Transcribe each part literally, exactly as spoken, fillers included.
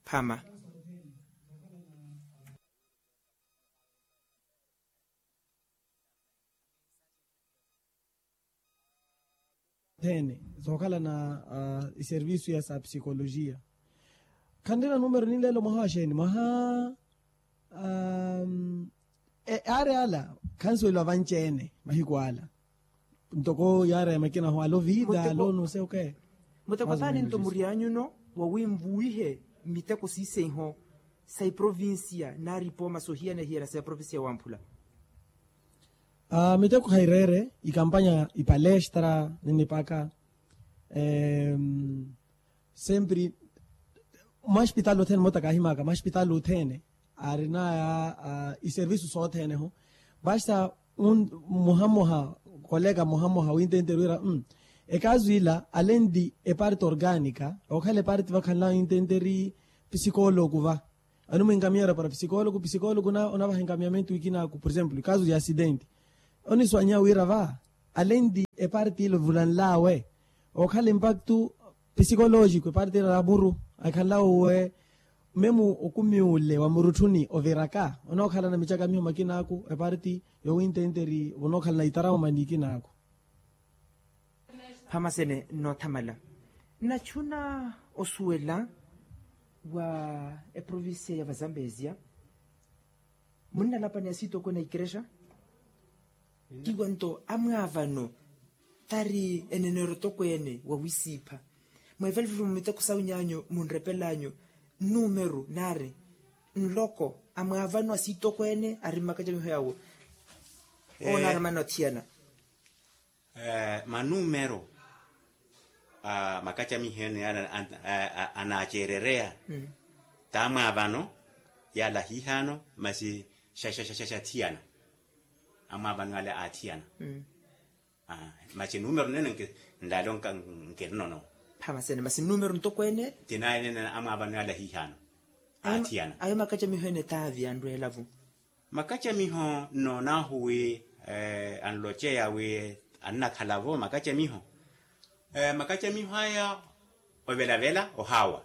Phama. Thene zookhala na iservisu ya sa psikolojiya. Khanrina numero ninleelo mwaha wa xeeni mwaha yaari ala khansuweliwa vanci-ene mahiku ala. Ntoko yaari ya makina ho alo vida alo nuse oke. Muteko taani nto murianyuno wa winvuwihe miteko siisenho sa iprovincia naari ipooma sohiyana hiyana sa iprovincia ya wamphula. Miteko khaireere ikampanya ipalestra ninipaka. Sempre mwaxpitali othene moota kaahimaka mwaxpitali othene aarinaya iservisu sothene ho. Vasta muhamuha koleka muhamuha wintentere wira ekaazu ila alenti eparte organika okhala eparte vakhanlaya wintenteri psikoloku va. Animwinkamiya orapara psikoloku psikoloku onavaha enkamiyamentu wikinaaku por exemplo ekaazu ya asidenti oniswanya wira va alenti eparte ile ovulanlawe okhala impaktu psikolojiku eparte ile ya muru akhanlawe uwe memu okumi ule wa murutthuni oviraka onookhala na micakamiho makinaaku eparte yowintenteri vonookhala na itarauma nikinaaku. Phamasene nnoothamala nnachuna osuwela wa eprovincia ya vazambezia munnalapani asiitokweene a ikerexa. Tiwa nto amwaavano tari enenero tokweene wa wisiipha mweevalivalivo miteko sawu nyaanyu munrepelanyu nnumeru naari nloko amwaavano asiitokweene ari mmakacamiho yawo. Owo naari amana othiyana manumero a makacamiho ene anaaceerereya t'amwaavano yaala ahiihaano masi xaxaxaxaxathiyana amwaavano yaala aathiyana. Masi numero nene nlaale nkirinono. Phamasene masi numero ntokweene tinaye nene amwaavano yaala ahiihaano aathiyana. Ayo makacamiho ene taavi anrweelavu. Makacamiho nnoonahu wi anloceya wi annakhala-vo makacamiho. Makacamiho aya ovelavela ohaawa.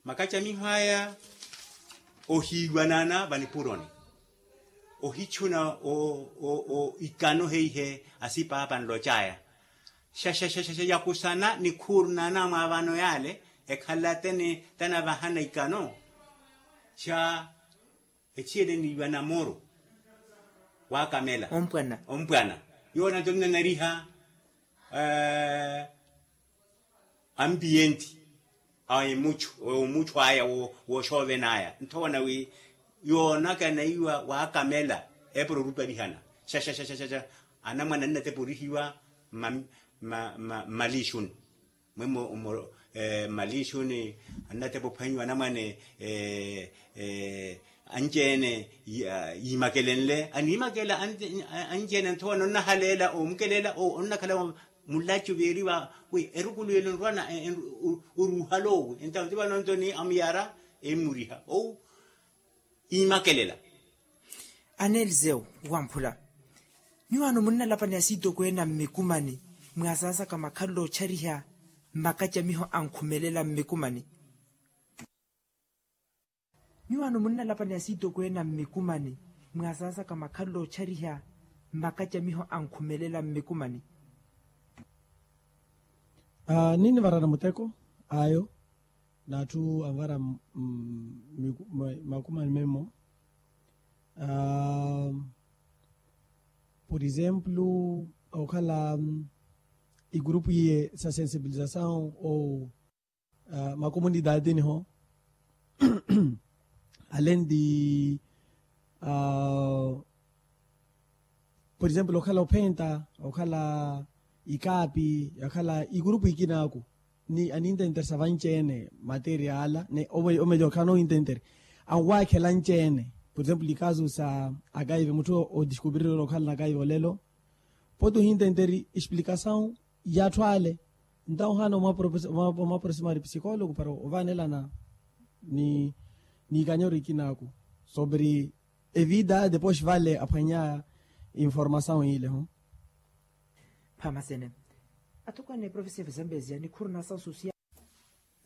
Makacamiho aya ohiiwanana vanipuroni ohichuna ikano heihe asipaapa anlocaya. Xaxaxaxa yakusana nikhuurnana mwaavano yaale ekhala tene tanavahana ikano. Xa echiyele niiwa na moro waakamela ompwana. Yoona nto nnanariha ampiyenti a emuchu omuchu aya wooxoovenaya nthowana wi yoonaka naiwa waakamela epuro oruparihana. Xaxaxaxa anamwane annateporihiwa mmalixuni. Mwemmo mmalixuni annatepa ophwanyiwa anamwane anci-ene yiimakele nle aniimakela anci-ene nthowa nonnahaleela omukeleela onnakhala mulacu veeriwa wi erukulu yelo nrwana oruuhala owi entawo ti vano nto ni amuyara emmuriha owu. Imakelela. Ana eliseu wamphula nyuwaano munnalapani asiitokweene a mmikumani mwaasaasaka makhalelo ochariha makacamiho ankhumelela mmikumani. Nyuwaano munnalapani asiitokweene a mmikumani mwaasaasaka makhalelo ochariha makacamiho ankhumelela mmikumani. Ninnivarana muteko ayo n'atthu anvara makumani memmo. Por exemplo okhala igurupu iye sa sensibilizasaw ou makomunidade niho alenti por exemplo okhala ophenta okhala ikaapi okhala igurupu ikinaaku ni anintenteresa vanci-ene materiala ni omelyo okhala nointentere anwaakhela nci-ene. Por exemplo ikasu sa akaive mutthu odiskupirirela okhala na akaive olelo pooti ohintenteri explikasaw y'atthu ale. Ntawo ohaana omwaproximari psikologo para ovaanelana ni ikanyoro ikinaaku sobre evida depois vale aphwanyaya informasaw ile ho. Phamasene atokweene profesor vizambezia nikhuru na asaw sosiya.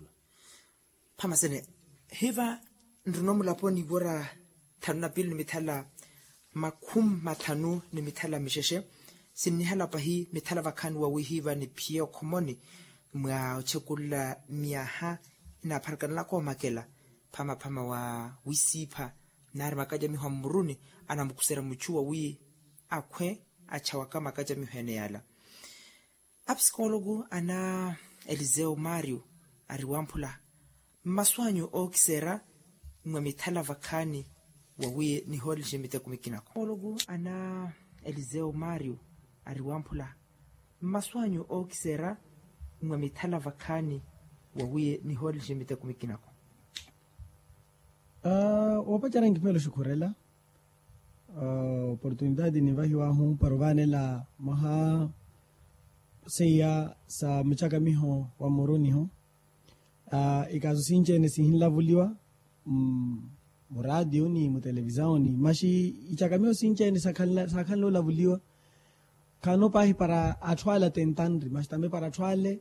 ohiiwa. Phamasene hiva nrino mulaponi wira thanu na piili ni mithala makhumi mathanu ni mithala mixexe. Sinnihala pahi mithala vakhaani wawihiiva niphiye okhomoni mwa ochekulula myaha inaapharakana nakoomakela phamaphama wa wisiipha. Naari makacamiho a mmuruni anamukusera muchu wawi akhwe achawaka makacamiho ene yala. Apsikologu ana eliseu mario ari wamphula mmasu anyu ookisera mwa mithala vakhaani wawi nihoolixe miteko mikinako. Ana eliseu mario ari wamphula mmasu anyu ookisera mwa mithala vakhaani wawi nihoolixe miteko mikinako. Aa woopacerya nkiphelo oxukhurela oportunitaati nivahiwahu para ovaanela mwaha seiya sa mucakamiho wa mmuruniho. Ikaaso sinci-ene sihinlavuliwa muraatiyo ni mutelevisawoni maxi icakamiho sinci-ene saakhanle olavuliwa. Khaano paahi para atthu ale atentanri maxi tambe para atthu ale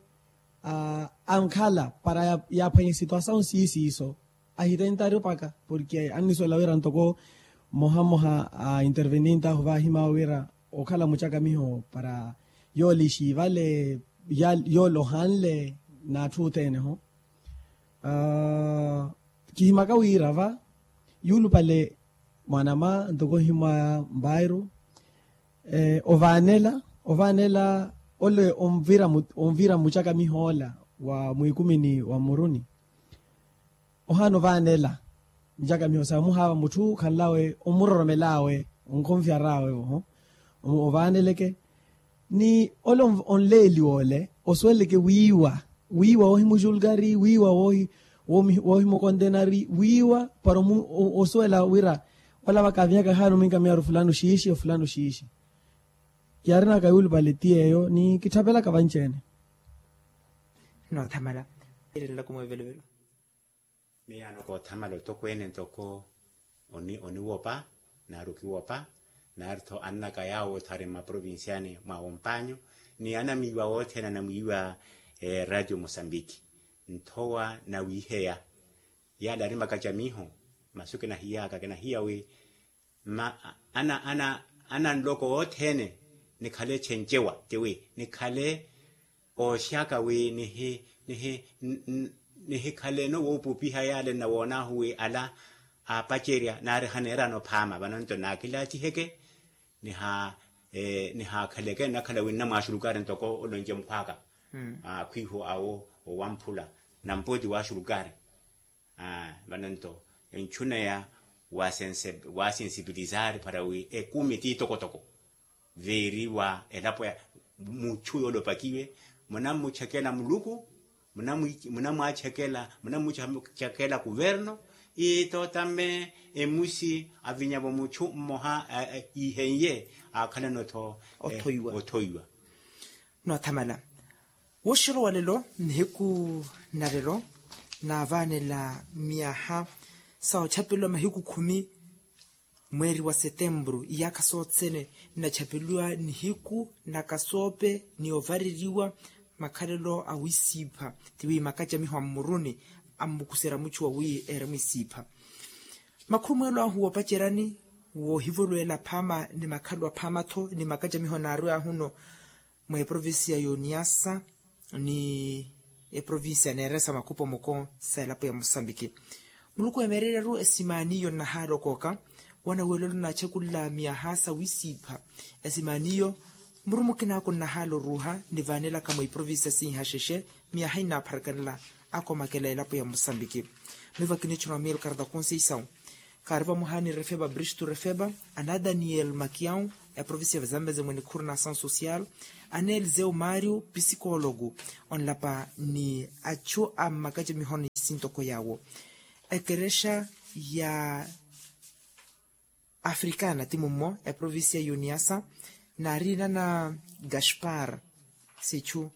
ankhala para yaaphwanya esituasawu siiso siiso. Ahitentari opaka porke annisuwela wira ntoko mmoha mmoha a intervenint'ahu vaahimaawe wira okhala mucakamiho para yoole ixiivale yoole ohanle n'atthu othene-ho. Kihimaka wira va yuulupale mwanama ntoko ohimwaya mbairu ovaanela ovaanela ole onvira mucakamiho ola wa mwiikumini wa mmuruni. Ohaana ovaanela mucakamiho sa muhaava mutthu okhanl'awe omuroromel'awe onkhonfyar'awe ovaaneleke ni ole onleeliwa ole osuweleleke wiiwa wiiwa woohimujulgari wiiwa woohimukondenari wiiwa para osuwela wira olavaka avinyaka ahaana ominka miyaaru fulano xiixi ofulano xiixi. Yaarinaka yuulupale ti yeeyo ni kitthapelaka vanci-ene. Noothamala. Miyaano koothamala otokweene ntoko oniwopa naari okiwopa naari-tho annaka yaawo othari mmaprovinciani mwa wompanyu ni anamwiiwa wothene anamwiiwa eraatio mosambiki nthowa nawiiheya. Yaala ari makacamiho masu kinahiyaaka kinahiya wi mma ana ana ananloko othene nikhale echencewa tiwi nikhale ooxaka wi nihi nihi nihikhale-no woopupiha yaale nnawoon'ahu wi ala aapacerya naari haneerana ophaama vano nto naakilaatiheke niha nihaakhaleke nnakhala wi nnamwaaxulukari ntoko olonce mukhw'aka akhwiihu awo owamphula nampooti waaxulukari. Vano nto enchuneya waasensipilisari para wi ekumi ti tokotoko viiriwa elapo ya muchu yoole opakiwe munammuchekela muluku munamwachekela munammuchekela kuverno. Iitotame emusi avinyavo muchu mmoha ihenye akhalana othoiwa. Nothamala woxolo walelo nihiku nalelo naavanela miyaha sa ochapelwa mahiku khumi mweeri wa setempuru iyaakha sothene. Nnachapeluwa nihiku na kasoope ni ovareriwa makhalelo a wisiipha tiwi makacamiho a mmuruni ammukusera muchu wa wi eremu isiipha. Makhurumweelo ahu woopacerani woohivolweela phaama ni makhalu aphaama-tho ni makacamiho naarwe ahuno mwa eprovincia y'oniasa ni eprovincia neeresa makhupo moko sa elapo ya mosambiki. Muluku emeererya-ru esimaaniyo nnahaala okooka wana weelelo naachakulla miyaha sa wisiipha. Esimaaniyo muru mukinaako nnahaala oruuha nivaanelaka mwa iprovincia siihaxexe miyaha innaapharakhanela akomakela elapo ya mosambiki. Miivo akinichuna wa miilkarta konseisau kaari vamoha ni refeba bristu refeba ana daniel makiau eprovincia ya vazambeze mwe nikhuru na asaun social ana eliseu mario psikologu onlapa ni achu a mmakacamiho ni sintoko yaawo ekerexa ya afrikana ti mummo eprovincia ya uniasa naariina na gaspar sichu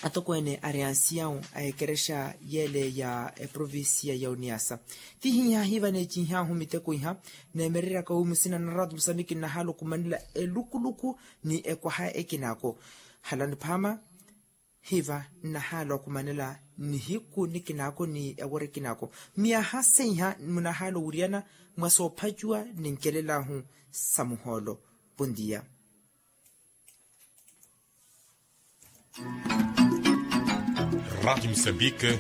atokweene ari ansiyawu a ekerexa yeele ya eprovincia ya uniasa. Ti hiiha hiiva neecinhyahu miteko iha neemereryaka wi musina na ratu musambiki nnahaala okumanela elukuluku ni ekwaha ekinaako halani phaama hiiva nnahaala okumanela nihiku nikinaako ni eworo ekinaako miyaha seiha munahaala owiriyana mwa soophacuwa ni nkelelahu sa muhoolo. Pondiya. Ratu musambiki.